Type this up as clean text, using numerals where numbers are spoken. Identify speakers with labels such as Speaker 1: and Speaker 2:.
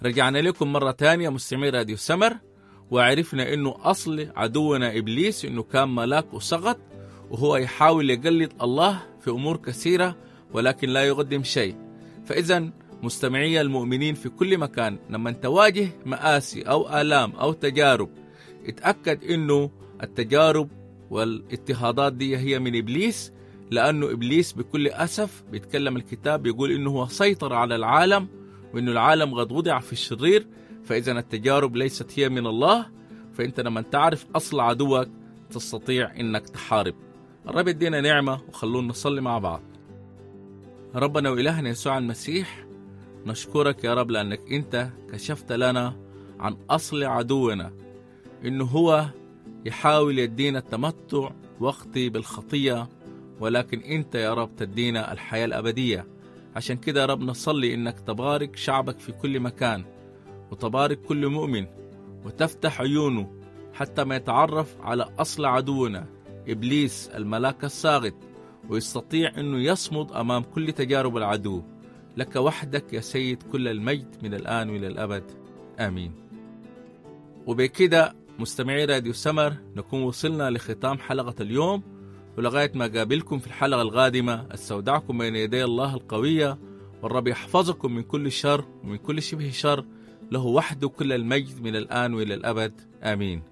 Speaker 1: رجعنا لكم مرة تانية مستمعي راديو سمر، وعرفنا انه اصل عدونا ابليس انه كان ملاك وسقط، وهو يحاول يقلد الله في امور كثيرة ولكن لا يقدم شيء. فاذا مستمعي المؤمنين في كل مكان، لما تواجه مآسي او آلام او تجارب، اتأكد انه التجارب والاضطهادات دي هي من ابليس، لانه ابليس بكل اسف بيتكلم الكتاب بيقول انه هو سيطر على العالم، وانه العالم قد وضع في الشرير. فاذا التجارب ليست هي من الله، فانت لما تعرف اصل عدوك تستطيع انك تحارب. الرب يدينا نعمه، وخلونا نصلي مع بعض. ربنا وإلهنا يسوع المسيح، نشكرك يا رب لأنك أنت كشفت لنا عن أصل عدونا، إنه هو يحاول يدينا التمتع وقتي بالخطية، ولكن أنت يا رب تدينا الحياة الأبدية. عشان كده يا رب نصلي إنك تبارك شعبك في كل مكان، وتبارك كل مؤمن، وتفتح عيونه حتى ما يتعرف على أصل عدونا إبليس الملاك الساقط، ويستطيع أنه يصمد أمام كل تجارب العدو. لك وحدك يا سيد كل المجد من الآن وإلى الأبد، آمين. وبكده مستمعي راديو سمر نكون وصلنا لختام حلقة اليوم، ولغاية ما قابلكم في الحلقة القادمة استودعكم بين يدي الله القوية، والرب يحفظكم من كل شر ومن كل شبه شر. له وحده كل المجد من الآن وإلى الأبد، آمين.